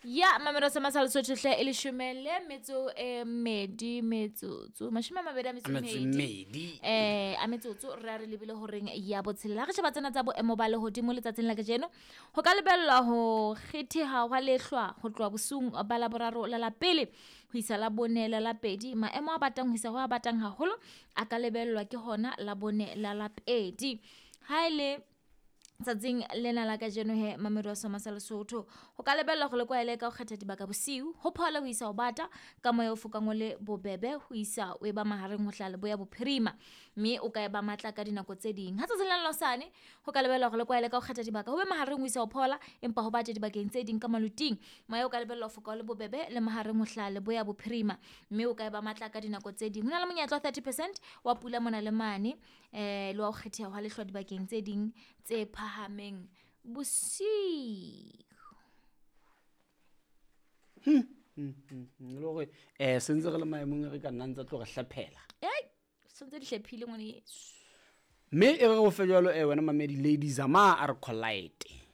Ya mamelo sa masala Lesotho hle e leshome le metso e mmedi metsotso 20 a metso A metso e mmedi. mmedi. A metsotso re a re lebile horeng ya botshelela. Ha re sheba tsena tsa boemo ba lehodimo letsatsing la kajeno, ho ka lebellwa ho kgetheha hwa lehlwa ho tloha bosiung ba Laboraro la la pele ho isa la bone la la pedi. Maemo a batang ho isa ho a batang haholo a ka lebellwa ke hona la bone la la pedi. Ha ele tsatsing lena la kajeno he mamedi wa Soma sa Lesotho, ho ka lebellwa hore le kwaele ka ho kgetha dibaka bosiu, ho phole ho isa ho bata ka moya o fokang o le bobebe ho isa o e ba mahareng ho hlaha leboya bophirima, mme o ka e ba matla ka dinako tse ding. Ha tsatsing la hosane ho ka lebellwa hore le kwaele ka ho kgetha dibaka ho be mahareng ho isa ho phola, empa ho bate dibakeng tse ding ka maloting. Moya o ka lebellwa ho foka o le bobebe le mahareng ho hlaha leboya bophirima, mme o ka e ba matla ka dinako tse ding. Ho na le monyetla wa 30% wa pula mona le mane, le wa ho kgetheha hwa lehlwa dibakeng tse ding tse phahameng bosiu. Le hore sentse re le maemong re ka nna ntse tlo re hlephela. Ei, sentse di hlephile ngwane yeso. Mme e re o fe jwalo wena mamedi Lady Zama a re collide.